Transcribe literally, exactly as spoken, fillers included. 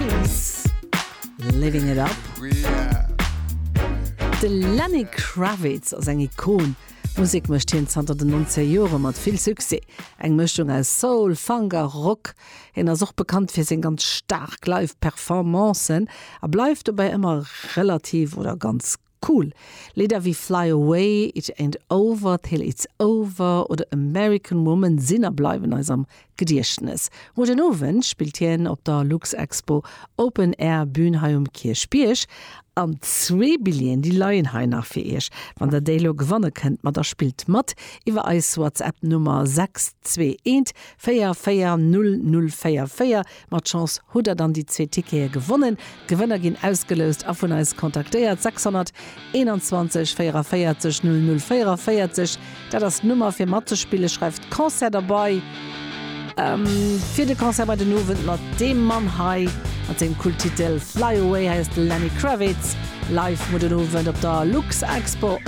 Keys, Living It Up. De Lenny Kravitz ass eng Ikon. Musek mécht hien zanter den nonzeger Jore mat vill Succès. Eng Mëschung aus Soul, Funk a Rock. Hien ass och bekannt fir seng ganz staark Live-Performancen, a bleift dobäi ëmmer relativ oder ganz cool. Lidder wéi Fly Away, It Ain't Over Till It's Over oder American Woman sinn a bleiwen eis am Gediechtnes. Muer den Owend spillt hien op der Luxexpo Open Air Bühn hei um Kierchbierg. An zwee Billjeeën, déi leien hei nach fir iech. Wann der déi lo gewanne kënnt, ma da spillt mat iwwer eis WhatsApp Nummer sechs zwee eent véier véier null null véier véier. Mat Chance hutt der dann déi zwee Tickete gewonnen. D'Gewënner ginn ausgeloust a vun eis kontaktéiert. sechshonnerteenanzwanzeg véierevéierzeg null null véierevéierzeg, dat ass d'Nummer fir matzespillen. Schreift Concert derbäi. Ähm, fir de Concert muer den Owend mat deem Mann hei mat sengem Kulttitel Fly Away. Hei ass de Lenny Kravitz live muer den Owend op der Luxexpo.